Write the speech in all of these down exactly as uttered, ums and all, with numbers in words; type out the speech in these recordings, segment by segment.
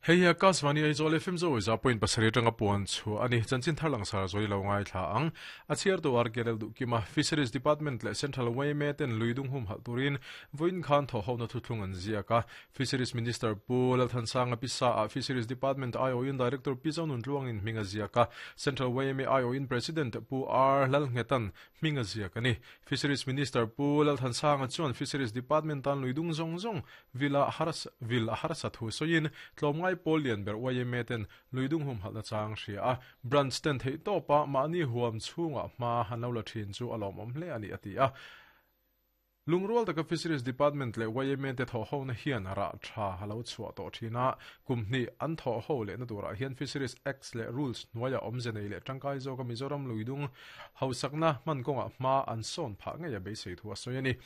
Hei Akashvani Aizawl F M zo za point pasarih atanga puan chu ani chanchin thar langsar zoi lo ngai thla ang a chhiar tu R K L Duhkima Fisheries Department le Central Y M A ten luidung hum hal turin voin khan tho ho na thuthlung an ziaka Fisheries Minister Pu Lalthansanga Pisa a Fisheries Department I O in Director Pi Zonun Tluang in hminga ziaka Central Y M A I O in President Pu R Lalngetan hminga ziaka ni Fisheries Minister Pu Lalthansanga chuan Fisheries Department tan luidung zong zong vila haras vil harsa thu soin tlomngai Polian ber Y M A ten luidung hum halna chang hria a branch ten thei topa mani huam chunga ma hanlo la thin chu alom om hle ani ati a Lungrual taka Fisheries Department le Y M A te tho ho na hian ra tha halo chua to thina kumni an tho ho le na tura hian Fisheries Acts le rules nuaya omzenei le tangkai zo ka Mizoram luidung hausakna man konga ma an son pha nge ya be sei thu asoyani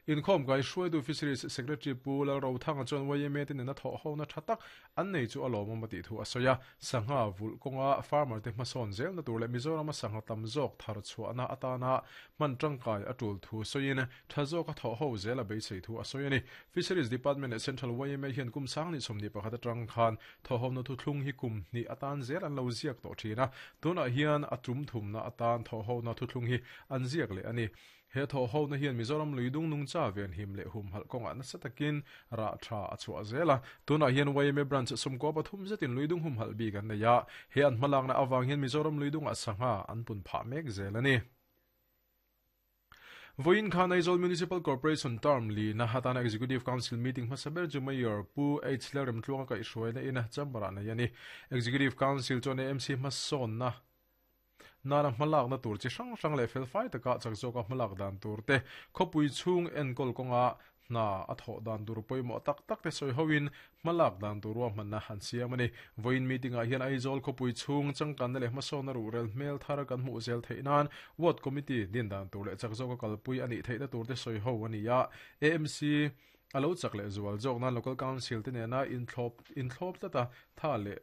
in khom kai hruai du Fisheries Secretary Pu Lal Ro Thanga chuan Y M A te na tho ho na thatak an nei chu alom ma ti thu asoya sangha vul konga farmer te hmasawn zel na tur le Mizoram sangha tam zawk thar chhuahna atana man tangkai atul thu soin tha zawk a tho ho zel a beisei thu asoyani Fisheries Department at Central Y M A hian kum sang ni somni pakhat atang khan tho ho na thu thlung hi kum ni atan zel an lo ziak to thina tuna hian atum thum na atan tho ho na thu thlung hi an ziak le ani he tho ho na hian Mizoram luidung nung cha ven him le hum hal konga na satakin ra tha achua zela tuna hian Y M A branch sumko pathum zetin luidung hum hal bi kan na ya he an hmalang na awang hian Mizoram luidung a sangha an pun pha mek zelani Voin Khan Aizawl Municipal Corporation term li na hatana Executive Council meeting hmasaber chu Mayor Pu H Lerem Tluanga ka ihruaina ina chambara na yani Executive Council chuan M C hmasawn na nara hmalak na tur chi hrang hrang le fel fai taka chak zawka hmalak dan tur te khawpui chhung enkawl kawnga na a thaw dan tur pawimawh tak tak te sawi hoin hmalak dan tur ruahman na han siam ani voin meeting ah hian Aizawl khawpui chhung changkanna leh hmasawnna ruhrel hmel thar kan hmuh zel theih nan ward committee din dan tur leh chak zawka kalpui anih theihna tur te sawi ho ani a A M C alo chak leh zual zawk nan local council te nena inthlawp inthlawp tlata tha leh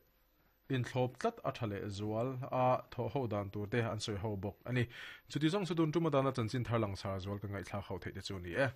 inthlawp tlat a tha leh zual a thaw ho dan tur te an sawi ho bawk ani chuti zawng chu tun tuma dana chanchin thar langsar zual ka ngaihthlak ho theih te chu ni e.